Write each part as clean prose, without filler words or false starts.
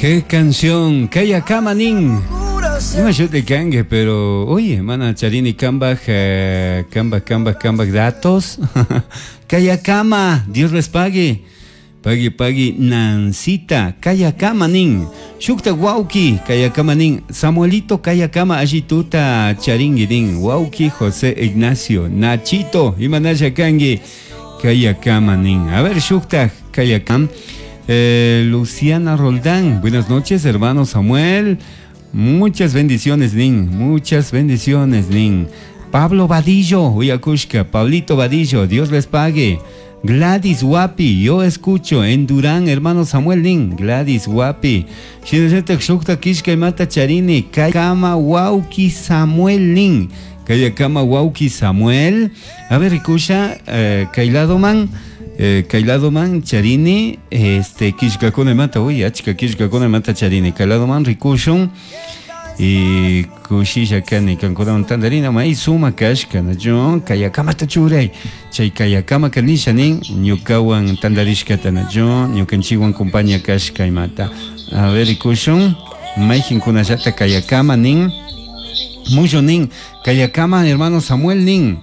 Qué canción, Kayakama nin. Ima shuti kanki, pero oye, mana charini kambaj, kambaj, kambaj, kambaj datos. Kayakama, Dios les pague. Pagui, pagui, Nancita, Kayakama nin. Shukta wauki, Kayakama nin. Samuelito, Kayakama, allituta charingui nin. Wauki, José Ignacio, Nachito, imanalla kanki, Kayakama nin. A ver, shukta, Kayakam. Luciana Roldán, buenas noches, hermano Samuel. Muchas bendiciones, nin. Muchas bendiciones, nin. Pablo Vadillo, Uyakushka, Pablito Vadillo, Dios les pague. Gladys Wapi, yo escucho en Durán, hermano Samuel Nin, Gladys Wapi. Shinallatak shukta kishka imata charini, Kayakama Wauki Samuel Nin. Kayakama Wauki Samuel. A ver, rikusha, kayladoman, kayladoman charini, este, kishkakuna imata, uy, achka kishkakuna imata charini, kayladoman rikushun. Y kushisha kani kankunawan tantarina may suma kashka nachu kayakamata churay chay kayakama kanisha nin ñukawan tantarishkata nachu ñukanchikwan compañía kashka imata. A ver, rikushun mayqinkunallata kayakama nin Mucho nin kayakama hermano Samuel nin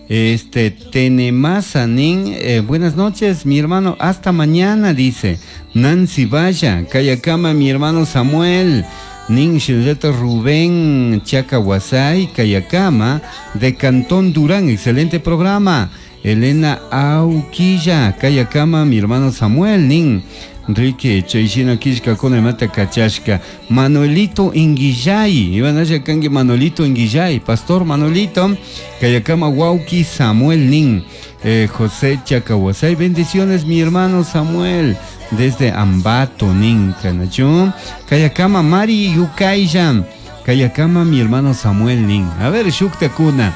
este Tenemasa nin, buenas noches mi hermano, hasta mañana dice Nancy Vaya, kayakama mi hermano Samuel nin shinallata Rubén Chacahuasay, Kayakama, de Cantón Durán, excelente programa. Elena Auquilla, Kayakama, mi hermano Samuel, nin Enrique Chayshina Kishka Kona Mata Kachashka, Manuelito Inguillay, Iban allá kanki Manuelito Inguillay, Pastor Manuelito, Kayakama Wauki Samuel nin, José Chacahuasay, bendiciones mi hermano Samuel, desde Ambato, nin, Kanachu, Kayakama Mari Yukaya, Kayakama mi hermano Samuel nin. A ver, Shukta Kuna,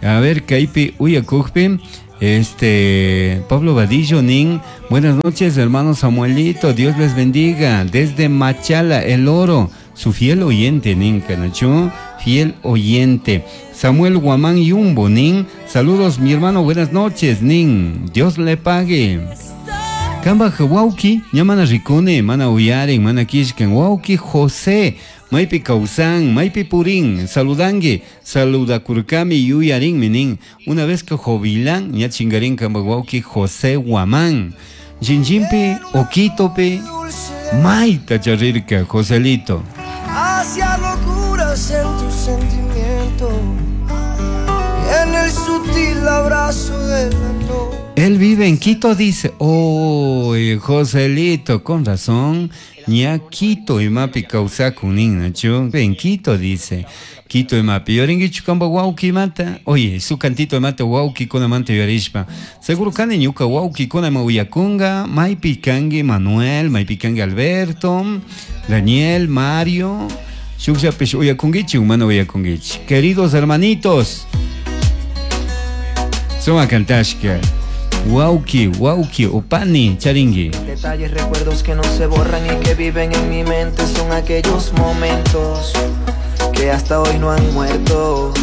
a ver, Kaipi Uyakujpi, este, Pablo Vadillo nin, buenas noches hermano Samuelito, Dios les bendiga, desde Machala, El Oro, su fiel oyente nin, Kanachu, fiel oyente. Samuel Guamán Yumbo nin, saludos mi hermano, buenas noches nin, Dios le pague. Kamba wauki, ñamana rikune, mana uyaren, mana kishkan, wauki José, maypi kausan, maypi purin, saludangue, saludakurkami yuyarin minin. Una vez que jovilan, ña chingarin kamba wauki José Guamán. Jinjimpi, Oquitope, maita charirka, Joselito. Hacia locuras en tu sentimiento, en el sutil abrazo de la noche. Él vive en Quito, dice. Uy, Joselito, con razón. Ña Quito y mapi kawsakun nachu. En Quito, dice. Quito y mapi. Yoringichu kamba wauki mata. Oye, su cantito de mata wauki kuna manta yorishpa. Seguro kani ñuka wauki kuna ma uyakunga. Maypi kangi Manuel, maypi kangi Alberto, Daniel, Mario. Shukllapish uyakungichu, mana uyakungichu. Queridos hermanitos. Suma kantashka. Wauki, wauki, upani, charingui. Detalles, recuerdos que no se borran y que viven en mi mente son aquellos momentos que hasta hoy no han muerto.